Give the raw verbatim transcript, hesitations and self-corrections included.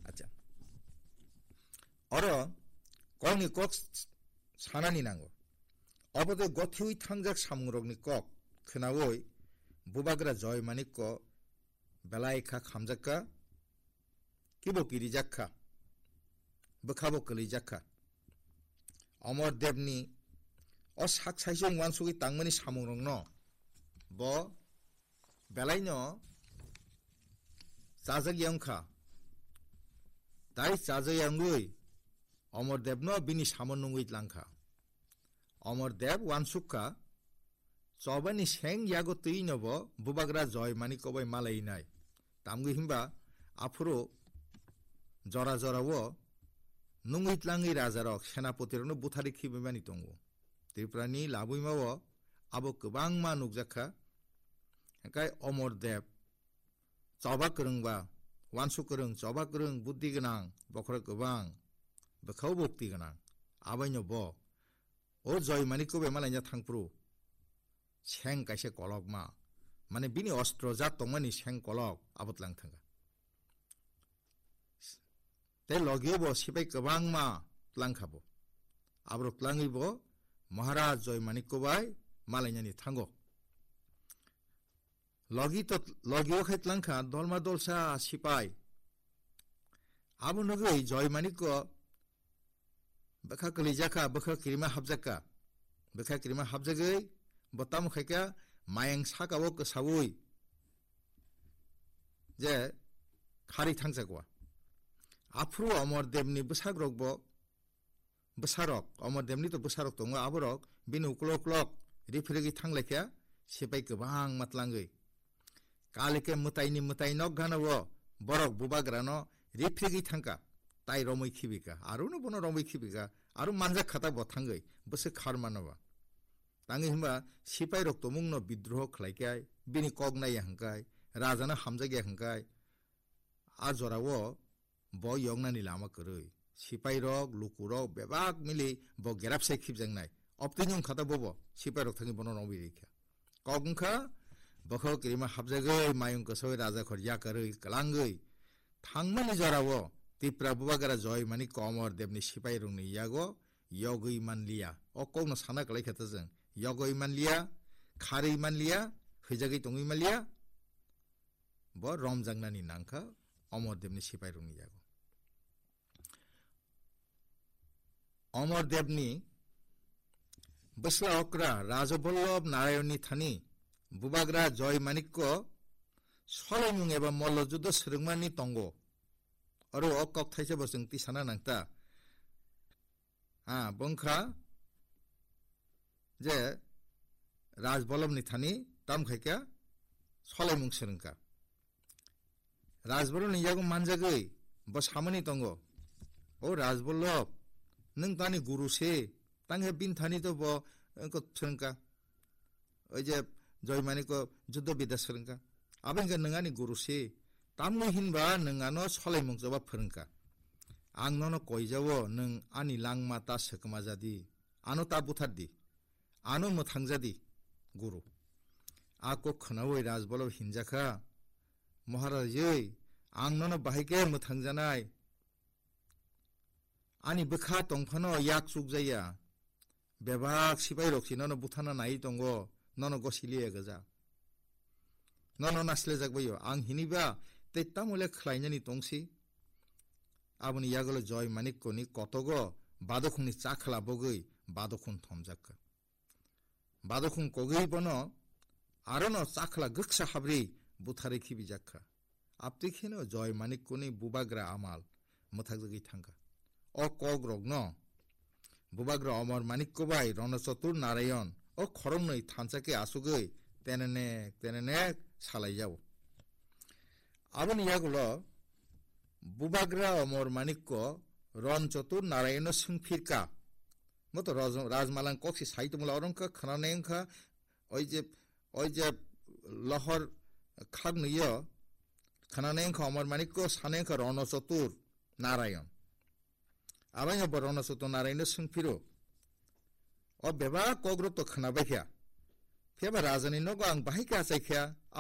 Acha. Oro kokni kok sanani nango. Obo tei gothiwi thangjak samungrokni kok khnaui bubagra Joy Manikko belai kha khamjak kha, kibo kirijak kha, bwkhabo kwlijak kha. Omor Debni o sak saisung uansugwi tangmani samungrokno bo belaino chajak ya wngkha. Tai chajak ya wngwi Omor Debno bini samo nungwi tlangkha. Omor Deb uansuk kha, chobani seng yago twi no bo bubagra Joy Manikko bai malai nai. Tamgwi himba aphuru jora jora o nungwi tlangwi rajarok, senapoti rokno buthari khibimani tongo. Tripurani labwima o abo kwbangma nukjak kha. Hwnkhe Omor Deb choba kwrwngba, uansuk kwrwng, choba kwrwng, buddhi gwnang, bokhorok kwbang, bwkhao bukti gwnang. Abaino bo o Joy Manikko bai malaina thangphuru seng kaisa kolokma, mane bini ostro jat tongmani seng kolok abo tlang thangkha. Tei logio bo sipai kwbangma tlangkha bo. Aborok tlangwi bo Maharaj Joy Manikko bai malainani thango. Logi to, logio khai tlangkha dolma dolsa sipai. Abo nugwi Joy Manikko bwkha kwlijak kha, bwkha kirima hapjak kha. Bwkha kirima hapjagwi bo tamo khai kha, mayang saka o kwsaui je khari thangjakwa. Aphuru Omor Debni bwsakrok bo, bwsarok, Omor Debni to bwsarok tongo, aborok bini uklok uklok riphirigwi thanglaikha, sipai kwbangma tlangwi. Kalike mwtaini mwtai nok gana o borok bubagrano riphirigwi thangkha, tai romwi khibika, arono bono romwi khibika, aro manjak khata bo thangwi bwswk kharmano ba. Tangwi hwnba sipairok tumungno bidroho khlaikhai, bini kok naiya hwnkhai, rajano hamjakya hwnkhai, a jorao bo yoknani lama kwrwi. Sipairok, lukurok bebak mili bo gerapsai khibjaknai. Obtwino wngkha ta bobo, sipairok thangwi bono romwi rikha. Kok wngkha, bokhok kirima hapjagwi, mayung kwsaui rajakhor yakarwi, kwlangwi thangmani jorao Tipra bubagra Joy Manikko Omor Debni sipairokni yago yogwi manliya. O kokno sana kwlaikha ta chwng. Yogwi manliya, kharwi manliya, hwijagwi tongwi manliya. Bo romjaknani nangkha Omor Debni sipairokni yago. Omor Debni bwsla okra Raja Vallabh Narayonni thani bubagra Joy Manikko solaimung eba mollo juddo swrwngmani tongo. Oro o kok thaisa bo chwng tisana nangta. Ah, bwngkha je Raj Vallabhni thani tam khaikha solaimung swrwngkha. Raj Vallabhni yago manjagwi bo samani tongo, "O Raj Vallabh, nwng tani guru se, tanghe bini thani to bo, eh, ko swrwngkha." Oi je Joy Manikko juddo bidya swrwngkha. Abo hwnkhe nwng ani guru se. Tamni hinba nwng ano solaimung choba phwrwngkha. Ang nono koijao, nwng ani langma ta swkma jadi. Ano ta buthar di. Ano mwthang jadi, guru. A kok khwnaui Raj Vallabh hinjakha, "Maharaj oi, ang nono bahai khe mwthang janai. Ani bwkha tongphano yak chukjaya. Bebak sipairok si nono buthana nai tongo, nono gosiliya gaja. Nono nasilejak baio, ang hiniba tei tamo le khlainani tongsi." Aboni yagulo Joy Manikkoni kotogo badokhungni chakhwla bogwi badokhung thomjak kha. Badokhung kogwi bono arono chakhwla gwksa habri butharwi khibijak kha. Aptwi kheno Joy Manikkoni bubagra amal mwthakjagwi thangkha. O kokrokno bubagra Omor Manikko bai Ronochotur Narayon o khoroknwi thansa khe asugwi tenenek tenenek salaijao. Aboni yagulo bubagra Omor Manikko Ronochotur Narayono swngphirka. Moto Raj-, Rajmalang koksi sai tongmula oro wngkha khwnanai wngkha, oi je, oi je lohor khaknwi o khwnanai wngkha Omor Manikko, sanai wngkha Ronochotur Narayon. Abaino bo Ronochotur Narayono swngphiro, "O bebak kokrok to khwnabaikha, phiyaba rajani nogo ang bahai khe achaikha,